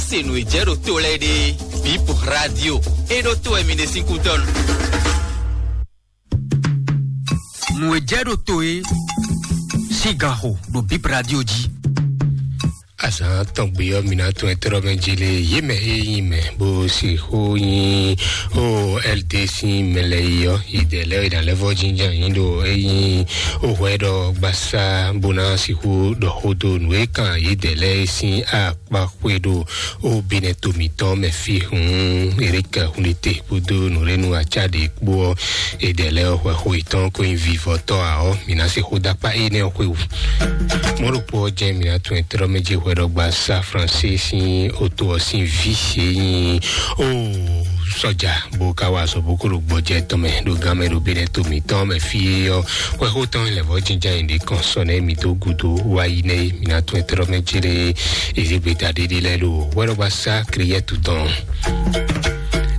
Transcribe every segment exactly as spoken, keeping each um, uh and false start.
Se nǔ e jɛ ɖo to lɛ́ɛ ɖe, Bip Radio, e ɖo to wɛ mi ɖe sín kútɔ́nu. Nǔ e jɛ ɖo to e sín gan xo ɖo Bip Radio jí. Azǎn tɔn gbe ɔ́, mi ná tún ɛ tlɔ́ mɛ jí lé, yě mɛ e nyí mɛ bó sixú nyí ó L D sín mɛ lɛ́ɛ yi ɔ́, yědɛɛ lɛ́ɛ e ná lɛ́ vɔ́ jínjɔ́n yǐ ɖo é nyí ó hwɛ ɖɔ gbasá bó ná sixú ɖɔ xó dó nǔ e kan yědɛɛ lɛ́ɛ sín akpa xwe ɖo ó Benɛto mǐtɔn mɛ fí hǔn Erik Hunlete kpódó nǔɖénu acá ɖě kpó ɔ́, yědɛɛ lɛ́ɛ ɔ́ hwɛ xó yětɔn ko nyí vivɔtɔ́ ǎ ɔ́, mǐ ná se xó dó akpá énɛ́ ɔ́ xwé wú. Mɔ̌ ɖokpó ɔ́ jɛ́n mǐ ná tunwun ɛ tlɔ́ mɛ jí hwɛ ɖɔ gbasá Fransé sín oto ɔ́ sín vǐ se nyí ó sɔ́ja bó ka wa azɔ̌ bó ko ɖo gbɔjɛ́ tɔn mɛ ɖo gán mɛ ɖo Benɛto mǐtɔn mɛ fí é ɔ́, hwɛxó tɔn lɛ̌vɔ́ jínjɔ́n ayǐ ɖé kɔn sɔ nɛ́ mǐ dó gúdo wá yi nɛ́ mǐ ná tunwun ɛ tlɔ́ mɛ céɖé. Ezégbeta ɖéɖé lɛ́ɛ ɖo hwɛɖɔgbasá Kriyɛ́tu tɔn.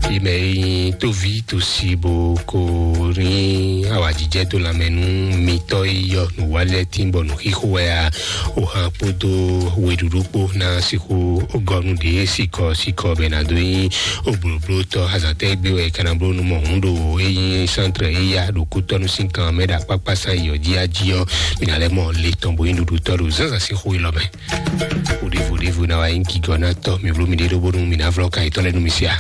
Yi mɛ e nyí tóví tosi bó ko nyí awǎjijɛ dó lanmɛ nú mitɔ́ e yɔ nǔ wa lɛ́ɛ tín bɔ nǔ xixo wɛ a? Ohan kpódó weɖuɖu kpó ná sixú gɔnu ɖě sikɔ sikɔ bɛ ná dó nyí oblǒblótɔ́ azǎntɛ́ gbé wɛ kana bló nú mɔ hǔn ɖo e nyí sántrɛ e ya ɖo kútɔ́nú sín kan mɛ ɖo akpákpá sán yi ɔ́ jí á jí ɔ́, mǐ ná lɛ́ mɔ le tɔn bó nyí ɖuɖutɔ́ ɖo zǎnzǎn sín xó élɔ́ mɛ. Vodévodévo ná wá nyí gigɔ ná tɔ́ mi bló mi ɖé ɖó bónú mi ná vlɔ́ kan yětɔn lɛ́ɛ nú mi sia.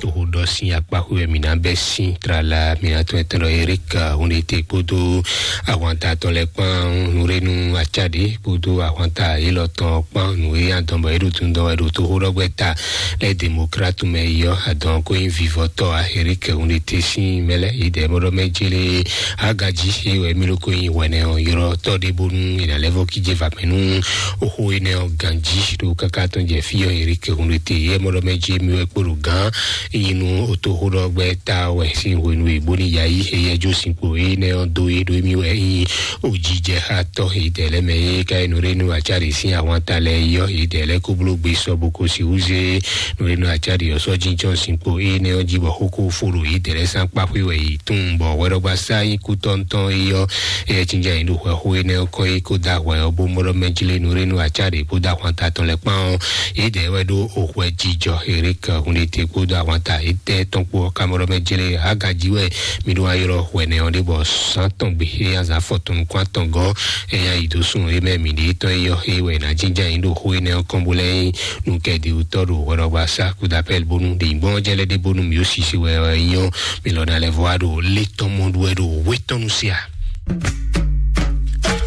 Toxo ɖɔ sín akpáxwé wɛ mǐ ná bɛ́ sín tlala mǐ ná tɔn ɛtɔn ɖɔ Erik Hunlete kpódó ahwanta tɔn lɛ́ɛ kpán nǔɖénu acáɖě kpódó ahwanta élɔ́ tɔn kpán nǔ e adɔn bɔ é ɖo tundɔn wɛ ɖo toxo ɖɔgbɛ ta lɛ́ demokratu mɛ yi ɔ́ adɔn ko nyí vivɔtɔ́ a Erik Hunlete sín mɛ lɛ́ɛ yi dɛ mɔɖɔ mɛ jélé agají é wɛ mí ló ko nyí hwɛnɛ ɔ́ ylɔ́ tɔ́ ɖé bónú è nǎ lɛ́ vɔ kíjé va mɛ nú oxó énɛ́ ɔ́ ganjí ɖo káká tɔn jɛ fí ɔ́ Erik Hunlete yɛ mɔɖɔ mɛ jí mí wɛ kpó ɖo gán nyí nú otoxóɖɔgbɛ́ ta wɛ sín hwenu e bóní yayi éyɛ́ jó sinkpo énɛ́ ɔ́ dó é ɖó émí wɛ nyí ojijɛxatɔ́ yědɛɛ lɛ́ɛ mɛ é ka nyí nǔɖénu acáɖi sín ahwanta lɛ́ɛ yɔ́ yědɛɛ lɛ́ɛ kó bló gbe sɔ bó ko sixú zé nǔɖénu acáɖi ɔ́ sɔ́ jínjɔ́n sinkpo énɛ́ ɔ́ jí bɔ xókó fó ɖo yědɛɛ lɛ́ɛ sín akpá xwé wɛ yě tunwun bɔ hwɛɖɔgbasá nyí kútɔ́ntɔn é yɔ́ éyɛ́ jínjɔ́n nyí ɖo hwɛ xó énɛ́ ɔ́ kɔn é kó dó ahwɛ ɔ́ bó mɔɖɔ mɛ jlé nǔɖénu acáɖi kpódó ahwanta tɔn lɛ́ɛ kpán ɔ́ yědɛɛ wɛ ɖó oxwɛ jijɔ Erik Hunlete kpódó ahwanta étɛ́ tɔn kpó ɔ́ ka mɔɖɔ mɛ jlé agají wɛ mí ɖó wá ylɔ́ hwɛnɛ ɔ́ ɖé bɔ sán tɔn gbe é azǎn fɔtɔn nukún atɔn gɔ́ é nya yi dó sun é mɛ mǐ ɖe tɔn é yɔ é wɛ è nǎ jínjɔ́n nyí ɖo xó énɛ́ ɔ́ kɔn bó lɛ́ nyí nú kɛdíwútɔ́ ɖo hwɛɖɔgbasá kúdapɛ́l bónú ɖe nyǐgbɔ́n ɔ́ jɛ lɛ́ ɖé bónú mǐ ó sisi wɛ ɔ́ nyí ɔ́, mǐ lɔ ná lɛ́ vɔ wá ɖo lé tɔn mɔ ɖu wɛ ɖo wé tɔn nu sí a?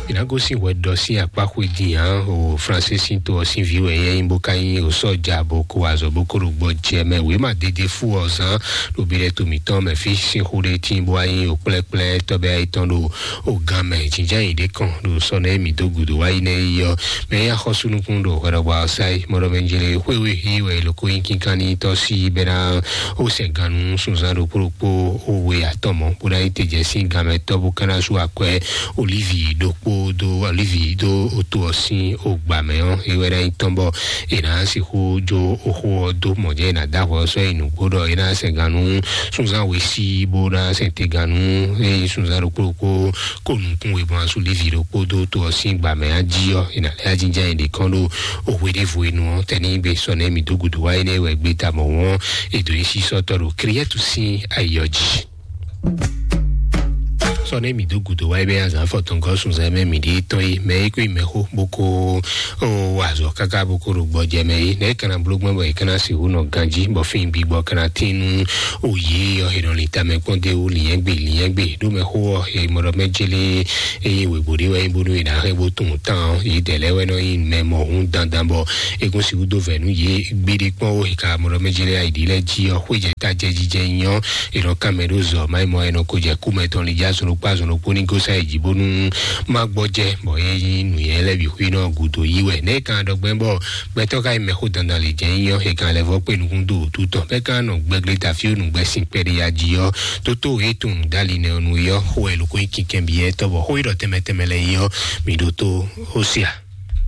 Mǐ ná gosín hwɛ ɖɔ sín akpá xwé din ǎ o Fransé sín to ɔ́ sín vǐ wɛ nyɛ nyí bó ka nyí o sɔ́ja bó ko azɔ̌ bó ko ɖo gbɔ jɛ mɛ wěma dédé fú ɔ́ zán ɖo bíɖɛ́ to mǐtɔn mɛ fí sín xó ɖé tíin bó wá nyí o kplɛ́kplɛ́ tɔ́bɛ́ ayítɔn ɖo o gán mɛ jínján yě ɖé kɔn ɖo sɔ́ nɛ́ mǐ dó gǔdo wá yi nɛ́ yi ɔ́ mɛ nyí axɔ́súnukún ɖo hwɛɖɔgbà ɔ́ sá yi mɔɖɔ mɛ jlé xwéwe hí wɛ è lǒ ko nyí kínkánní tɔ́ sí bɛ́ ná ó sɛn gannú sunzán ɖokpó ɖokpó ó we atɔn mɔ̌ bó ná yi te jɛ sín ganmɛ tɔ́ bó ka ná sú akwɛ́ olívi ɖokpó dó olívi dó oto ɔ́ sín ogbà mɛ ɔ́ é wɛ ná nyí tɔn bɔ è nǎ sixú jó oxó ɔ́ dó mɔ̌ jɛ è nǎ dó ahwɛ ɔ́ sɔ́ nyi nǔgbó ɖɔ é ná sɛn gannú sunzán we sí bó ná sɛn te gannú é nyí sunzán ɖokpó ɖokpó kó nukún we bó ná sú lívi ɖokpó dó to ɔ́ sín gbà mɛ á jí ɔ́ è nǎ lɛ́ ajínjá nyi ɖě kɔn ɖó o hweɖěvo e nu ɔ́ tɛ́ ní gbe sɔ nɛ́ mì dó gǔdo wá énɛ́ wɛ gbé ta mɔ̌ ɔ́ è dǒ nyi sísɔ́tɔ́ ɖo Kriyɛ́tu sín ayǐ ɔ́ jí. Sɔ nɛ́ mì dó gǔdo wá é bɛ́ azǎn fɔtɔngɔ́ sunzan mɛ mǐ ɖíe tɔn é mɛ é kó yi mɛxó bó kó ó wa azɔ̌ káká bó kó ɖo gbɔjɛ mɛ é nɛ́ é ka ná bló gbɔn bɔ è ka ná sixú nɔ ganjí bɔ fín gbigbɔ ka ná tín nú o yě ɔ́ è nɔ lin tamɛ kpɔ́n dó é wú lǐnyɛ́gbe lǐnyɛ́gbe ɖó mɛxó ɔ́ è mɔ ɖɔ mɛ jélé eye wěgbó ɖé wɛ nyí bónú è nǎ hɛn bó tunwun tán ɔ́ yě dɛ̌ lɛ́ɛ wɛ nɔ nyí mɛ mɔ̌hun dandan bɔ é kún sixú dó vɛ̌ nú yě gbéɖé kpɔ́n ó è ka mɔ ɖɔ mɛ jélé ayǐɖí lɛ́ɛ jí ɔ́ xwéjɛ tajɛ jijɛ nyí ɔ́ è nɔ kán mɛ ɖó zɔ má nyí mɔ è nɔ ko jɛ kú mɛ tɔn lin já zɔn ɖokpó azɔn ɖokpó ní gosá yi jí bónú má gbɔjɛ bɔ é nyí nǔnywɛ́ lɛ́ɛ bǐ xwí nɔ gǔdo yí wɛ nɛ́ é kan ɖɔ gbɛ́ bɔ gbɛtɔ́ ka nyí mɛxó dandan lě jɛ nyí ɔ́ è kan lɛ́ vɔ kpé nukún dó wǔtu tɔn bɛ́ kan nɔ gbɛglé ta fí ó nǔgbɛ́ sin kpɛɖé ya jí ɔ́ tótó é tunwun dó ali nɛ́ ɔ́ nu é ɔ́ xó wɛ lǒ ko nyí kinkɛn byɔ́ tɔ́ bɔ xó e ɖɔ tɛnmɛ tɛnmɛ lɛ́ɛ nyí ɔ́ mi ɖótó ó sia.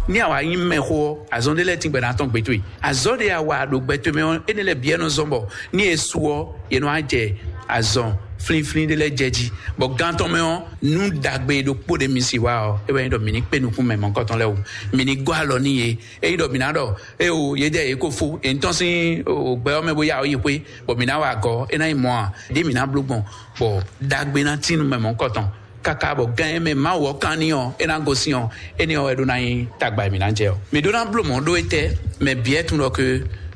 Ní àwa nyí mɛxó ɔ́, azɔn ɖé lɛ́ɛ tíngbɛ ná tɔn gbé towe. Azɔn ɖé a wa ɖo gbɛ towe mɛ ɔ́, énɛ́ lɛ́ɛ bǐ wɛ nɔ zɔ́n bɔ ní è su ɔ́, è nɔ wá jɛ azɔn flínflín ɖé lɛ́ɛ jɛ jí. Bɔ gán tɔn mɛ ɔ́, nú ɖagbe ɖokpó ɖé mi sì wá ɔ́, é wɛ nyí ɖɔ mǐ ní kpé nukún mɛ mɔ̌kɔtɔn lɛ́ɛ wú. Mǐ ní gɔ́ alɔ n'i yě. Ényí ɖɔ mǐ ná ɖɔ éewo yě jɛ yě ko fó, è nǐ tɔ́n sín gbɛ ɔ́ mɛ bó yá ɔ́ yi xwé, bɔ mǐ ná wa agɔ̌, é ná nyí mɔ̌ a? Ɖěe mǐ ná bló gbɔn, bɔ ɖagbe ná tín nú mɛ mɔ̌kɔtɔn, káká bɔ gán e mɛ Mawu ɔ́ kán n'i ɔ́, é ná gosín ɔ́, énɛ́ ɔ́ wɛ ɖó ná nyí tagba e mǐ ná jɛ ɔ́. Mǐ ɖó ná bló mɔ̌ ɖó étɛ́? Mɛ bǐ wɛ tunwun ɖɔ ke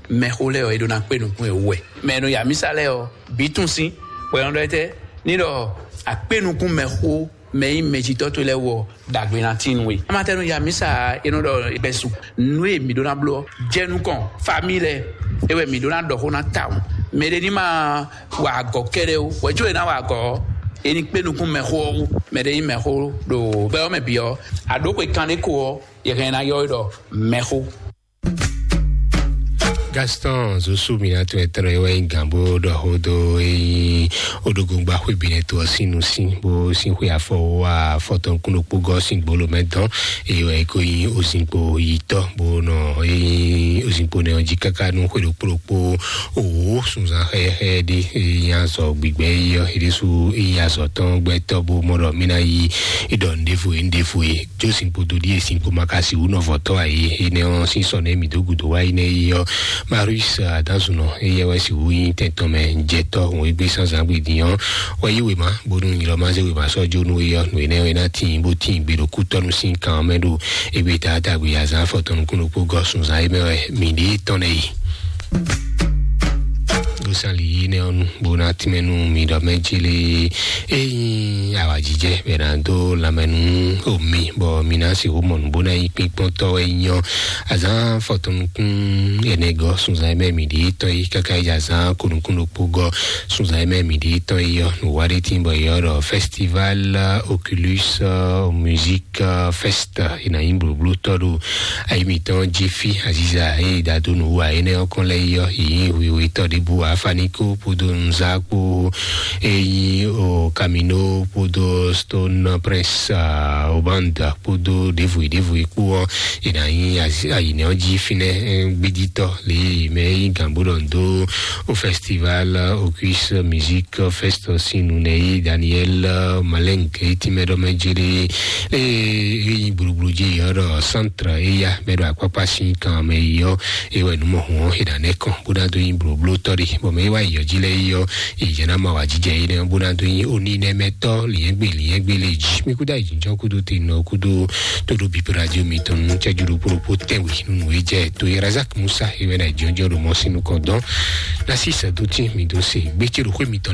mɛxó lɛ́ɛ ɔ́, é ɖó ná kpé nukún e wú wɛ. Mɛ e nɔ ya mísa lɛ́ɛ ɔ́, bǐ tunwun sín, bɔ é nɔ ɖɔ étɛ́ ní ɖɔ akpé nukún mɛxó mɛ nyí mɛjitɔ́ towe lɛ́ɛ wú ɔ́, ɖagbe ná tín nú we. Amatɛnu ya mísa e nɔ ɖɔ gbɛsu nú e mǐ ɖó ná bló ɔ́, jɛ nukɔn famille lɛ́ɛ, é wɛ mǐ ɖó ná ɖɔ xó ná tawun. Mɛ ɖé ní ma wa agɔ̌ kɛ́ɖɛ́ ó, hwɛ̌ có è nǎ wa agɔ̌ ɔ́, è ní kpé nukún mɛxó ɔ́ wú. Mɛ ɖé nyí mɛxó ɖo gbɛ ɔ́ mɛ bǐ ɔ́, a ɖǒ xwe kanɖé ko ɔ́, yɛ hɛn ná ylɔ́ we ɖɔ mɛxó. Gaston Zosu Minato etɔ́ e wɛ nyí gǎn bó ɖɔ xó dó e nyí oɖogoŋgba xwé bǐ nɛ́ to ɔ́ sín nusín bó sín xwe afɔ wá afɔtɔn kún ɖokpó gɔ́ sín gbolo mɛ dɔn. Eye wɛ é ko nyí ozinkpo yitɔ́ bó nɔ e nyí ozinkpo nɛ ɔ́ jí káká nú xwe ɖokpó ɖokpó. Òwò sunzan xɛxɛ ɖé e nyí azɔ gbigbɛ yi ɔ́, é ɖésú é nyí azɔ tɔn gbɛtɔ́ bó mɔ ɖɔ mí ná yí ɖɔ nɖěvo e nɖěvo e. Jó sinkpo dó ɖíe sinkpo ma ka sixú nɔ vɔ̌tɔ́ ǎ é. Énɛ́ ɔ́ sín sɔ nɛ́ mǐ dó gǔdo wá yi nɛ́ yi ɔ́, Marius Adanzunɔ, éyɛ́ wɛ sixú nyí tɛn tɔn mɛ jɛtɔ́ hɔn égbé sán zǎn gbe din ɔ́, wɛ yí wěma bónú nyilɔ ma zé wěma sɔ́ jó nú é ɔ́, nǔ énɛ́ ɔ́ é ná tíin bó tíin gbe ɖo kútɔ́nú sín kan ɔ́ mɛ ɖo égbé taátagbe azǎn afɔtɔn nukún ɖokpó gɔ́ sunzán é mɛ wɛ mǐ ɖě tɔn nɛ yi. Gosali yi nɛ ɔnu bona timɛ nu mi ɖɔ mɛ jele eyi awajijɛ bɛ na do lamɛ nu omi bɔ mi na si wo mɔnu bona yi kpikpɔn tɔ wɛ nyɔ azan fɔtɔnukun ɛnɛ gɔ sunzan mɛ mi ɖi tɔ yi kaka yi azan konukun ɖokpo gɔ sunzan mɛ mi ɖi tɔ yi yɔ nu wa ɖe tin bɔ yɔ ɖɔ festival oculus music fest ina yi blublu tɔ ɖo ayi mitɔn jifi aziza eye dado nu wa ene ɔkɔn lɛ yɔ yi wiwe tɔ ɖe bu afaniko podo nza kpo eyi o kamino podo stone prince obanda podo ɖevoe ɖevoe kpo ɔ ina yi ayi ne ɔ ji finɛ gbiditɔ le yi mɛ yi gambo ɖɔ do o festival o cuisse musique fest sinu ne yi daniel maleng eti mɛ ɖɔ mɛ jere eye yi gbulugbulu ji yɔ ɖɔ centre eya mɛ ɖo akpakpa si kan mɛ yi yɔ eye wɛ numɔ hɔn eda ne kɔn bó ná do yi blóbló tɔ ɖi bɔn mɛ yi wá yɔ ji lɛ yi yɔ yi jɛ ná ma wá jijɛ yi nɛ bó ná do yi oni nɛ mɛ tɔ liɛngbe liɛngbe le ji mi kuda yi jijɔ kudo te nɔ kudo todo bi radio mi tɔn nu cɛ juru kpokpo tɛnwe nunu yi jɛ to yi razak musa yi wɛ na jɔjɔ ɖo mɔ sinu kɔ dɔn nasi sɛ do ti mi do se gbɛtsɛ ɖo xwe mi tɔn